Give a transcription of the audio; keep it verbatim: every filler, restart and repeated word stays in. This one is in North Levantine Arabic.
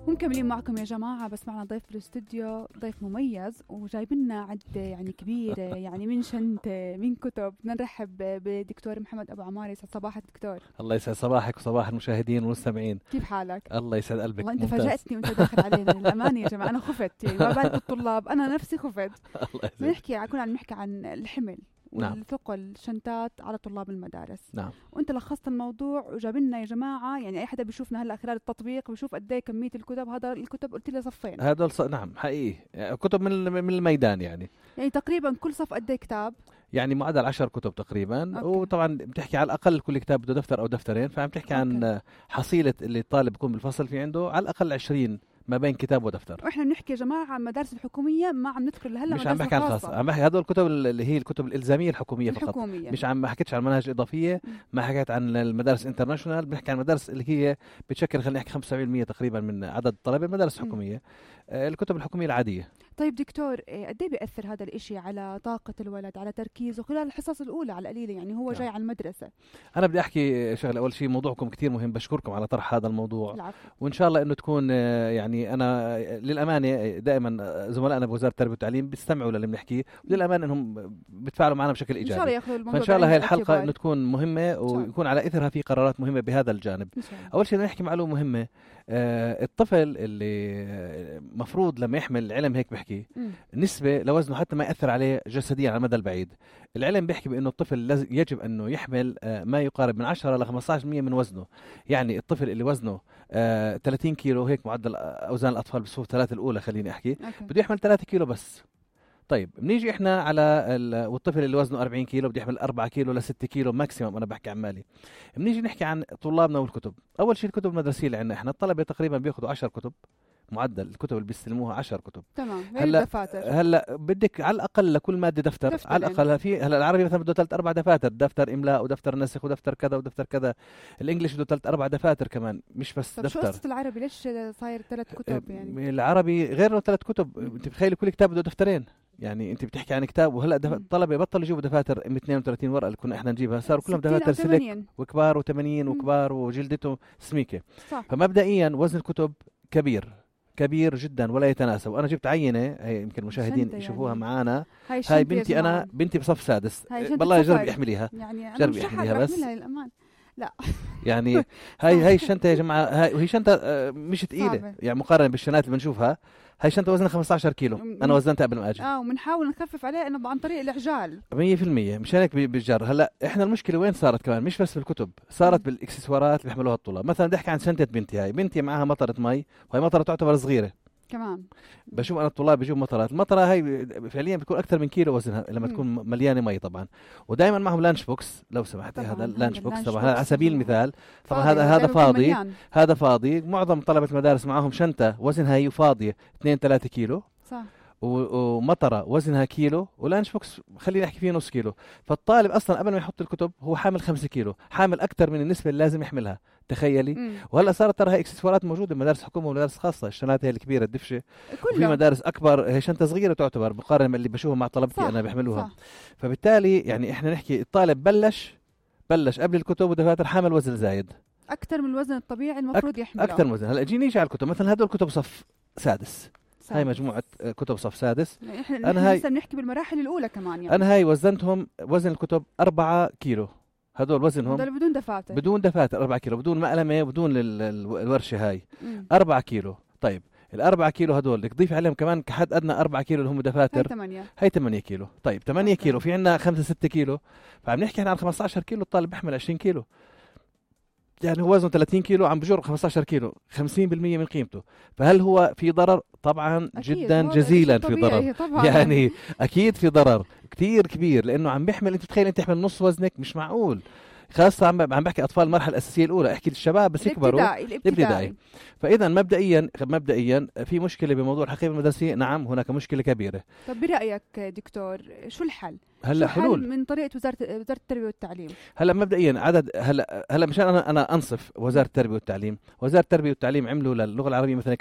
ومكملين معكم يا جماعة، بس معنا ضيف في الاستوديو، ضيف مميز وجايبنا عدة يعني كبيرة يعني من شنطة من كتب. بدنا نرحب بدكتور محمد أبو عمار. يسعد صباحك دكتور. الله يسعد صباحك وصباح المشاهدين والمستمعين. كيف حالك؟ الله يسعد قلبك. والله أنت فاجأتني وأنت داخل علينا. للأمانة يا جماعة أنا خفت، يعني ما بالك الطلاب، أنا نفسي خفت. الله يسعد. نحكي كنا عم نحكي عن الحمل نعم. والثقل شنطات على طلاب المدارس. نعم. وانت لخصت الموضوع وجابلنا يا جماعه، يعني اي حدا بيشوفنا هلا خلال التطبيق بيشوف قد ايه كميه الكتب. هذا الكتب قلت لي صفين. هذا ص... نعم حقيقي كتب من من الميدان يعني. يعني تقريبا كل صف قد ايه كتاب؟ يعني معدل عشر كتب تقريبا. أوكي. وطبعا بتحكي على الاقل كل كتاب بده دفتر او دفترين، فعم تحكي عن أوكي. حصيله اللي الطالب بيكون بالفصل في عنده على الاقل عشرين ما بين كتاب ودفتر. واحنا بنحكي يا جماعه عن مدارس الحكوميه، ما عم ندخل هلا مش عم بحكي عن الخاصه، عم بحكي هدول الكتب اللي هي الكتب الالزاميه الحكوميه فقط. الحكومية. مش عم ما حكيتش عن مناهج اضافيه، ما حكيت عن المدارس انترناشونال، بنحكي عن المدارس اللي هي بتشكل خلينا نحكي خمسة بالمية تقريبا من عدد الطلبه المدارس الحكوميه. آه الكتب الحكوميه العاديه. طيب دكتور، قد ايه بيأثر هذا الاشي على طاقه الولد، على تركيزه خلال الحصص الاولى على القليله؟ يعني هو جاي على المدرسه. انا بدي احكي شغله. اول شيء موضوعكم كتير مهم، بشكركم على طرح هذا الموضوع. العفو. وان شاء الله انه تكون يعني انا للامانه دائما زملائنا بوزاره التربيه والتعليم بيستمعوا للي بنحكيه، وللامانه انهم بيتفاعلوا معنا بشكل ايجابي. ان شاء الله ياخذوا الموضوع. فان شاء الله هاي الحلقه انه تكون مهمه ويكون على اثرها في قرارات مهمه بهذا الجانب. اول شيء بدنا نحكي معلومه مهمه. آه الطفل اللي مفروض لما يحمل، العلم هيك بحكي م. نسبه لوزنه حتى ما ياثر عليه جسديا على المدى البعيد. العلم بيحكي بانه الطفل يجب انه يحمل آه ما يقارب من عشرة لخمسة عشر بالمية من وزنه. يعني الطفل اللي وزنه آه ثلاثين كيلو، هيك معدل اوزان الاطفال بالصفوف الثلاثه الاولى خليني احكي، أوكي. بده يحمل ثلاثة كيلو بس. طيب بنيجي احنا على والطفل اللي وزنه أربعين كيلو بده يحمل أربعة كيلو ل ستة كيلو ماكسيمم. انا بحكي عن مالي. بنيجي نحكي عن طلابنا والكتب. اول شيء الكتب المدرسيه اللي عندنا احنا الطلبه تقريبا بياخذوا عشر كتب، معدل الكتب اللي بيستلموها عشر كتب. تمام. هلا دفاتر. هلا بدك على الاقل لكل ماده دفتر, دفتر على الاقل. في هلا العربي مثلا بده ثلاث اربع دفاتر، دفتر املاء ودفتر نسخ ودفتر كذا ودفتر كذا. الانجليش بده ثلاث اربع دفاتر كمان، مش بس طب دفتر. شو قصه العربي؟ ليش صاير ثلاث كتب يعني؟ العربي غير ثلاث كتب. انت بتخيلي كل كتاب بده دفترين، يعني انت بتحكي عن كتاب. وهلا الطلبه بطلوا يجيبوا دفاتر ام اثنين وثلاثين ورقه اللي كنا احنا نجيبها، صاروا كلهم دفاتر سلك وكبار وثمانين وكبار وجلدته سميكه. صح. فمبدئيا وزن الكتب كبير كبير جدا ولا يتناسب. وانا جبت عينه، هي يمكن المشاهدين يشوفوها يعني. معانا هاي, هاي بنتي، انا بنتي بصف سادس. والله جربي احمليها، يعني جربي احمليها بس للأمان. لا يعني هاي هاي الشنطه يا جماعه، هاي وهي شنطه مش ثقيله يعني مقارنه بالشنات اللي بنشوفها. هاي شنطه وزنها خمسة عشر كيلو، انا وزنتها قبل ما اجي. اه وبنحاول نخفف عليه انه عن طريق العجال مية بالمية. مشان هيك بالجر. هلا احنا المشكله وين صارت كمان؟ مش بس بالكتب، صارت بالاكسسوارات اللي بيحملوها الطلاب. مثلا بدي احكي عن شنطه بنتي. هاي بنتي معها مطره مي، وهي مطره تعتبر صغيره كمان. بشوف انا الطلاب بيجيبوا مطرات. المطره هاي فعليا بتكون اكثر من كيلو وزنها لما م. تكون مليانه مي طبعا. ودائما معهم لانش بوكس لو سمحتي. هذا اللانش بوكس طبعا على سبيل المثال. طبعا هذا هذا فاضي، هذا فاضي. معظم طلبه المدارس معهم شنطه وزنها هي فاضيه اثنين ثلاثة كيلو، صح. ومطره وزنها كيلو، ولانش بوكس خلينا نحكي فيه نص كيلو. فالطالب اصلا قبل ما يحط الكتب هو حامل خمسة كيلو، حامل اكثر من النسبه اللي لازم يحملها. تخيلي. مم. وهلا صارت ترى هي اكسسوارات موجوده بمدارس حكومه ومدارس خاصه. الشنطات هي الكبيره الدفشه، وفي مدارس اكبر هي شنطه صغيره تعتبر مقارنه باللي بشوفها مع طلبتي انا بيحملوها. صح. فبالتالي يعني احنا نحكي الطالب بلش بلش قبل الكتب ودفاتر حامل وزن زايد اكثر من الوزن الطبيعي المفروض أك... يحمله. اكثر من وزن. هلا جيني نيجي على الكتب. مثلا هدول كتب صف سادس. هاي مجموعة كتب صف سادس. احنا انا هاي لسه بنحكي بالمراحل الأولى كمان يعني. أنا هاي وزنتهم وزن الكتب أربعة كيلو. هدول وزنهم هدول بدون دفاتر بدون دفاتر أربعة كيلو، بدون مقلمة، بدون الورشة هاي مم. أربعة كيلو. طيب الأربعة كيلو هدول بدك تضيف عليهم كمان كحد أدنى أربعة كيلو اللي هم دفاتر. هاي ثمانية. هاي ثمانية كيلو. طيب ثمانية كيلو في عنا خمسة ستة كيلو، فعم نحكي عن خمسة عشر كيلو. الطالب بيحمل عشرين كيلو، يعني هو وزنه ثلاثين كيلو عم بجر خمسة عشر كيلو، خمسين بالمية من قيمته. فهل هو في ضرر؟ طبعا جدا جزيلا في ضرر طبعاً. يعني اكيد في ضرر كتير كبير، لانه عم بيحمل. انت تخيل انت تحمل نص وزنك، مش معقول. خاصة عم عم بحكي اطفال المرحلة الاساسية الاولى، احكي للشباب بس يكبروا الابتدائي. فاذا مبدئيا مبدئيا في مشكلة بموضوع الحقيبة المدرسية. نعم هناك مشكلة كبيرة. طب برأيك دكتور شو الحل؟ هلا حلول من طريقه وزاره وزاره التربيه والتعليم. هلا مبدئيا عدد هلا هلا مشان انا انا انصف وزاره التربيه والتعليم. وزاره التربيه والتعليم عملوا للغه العربيه مثلا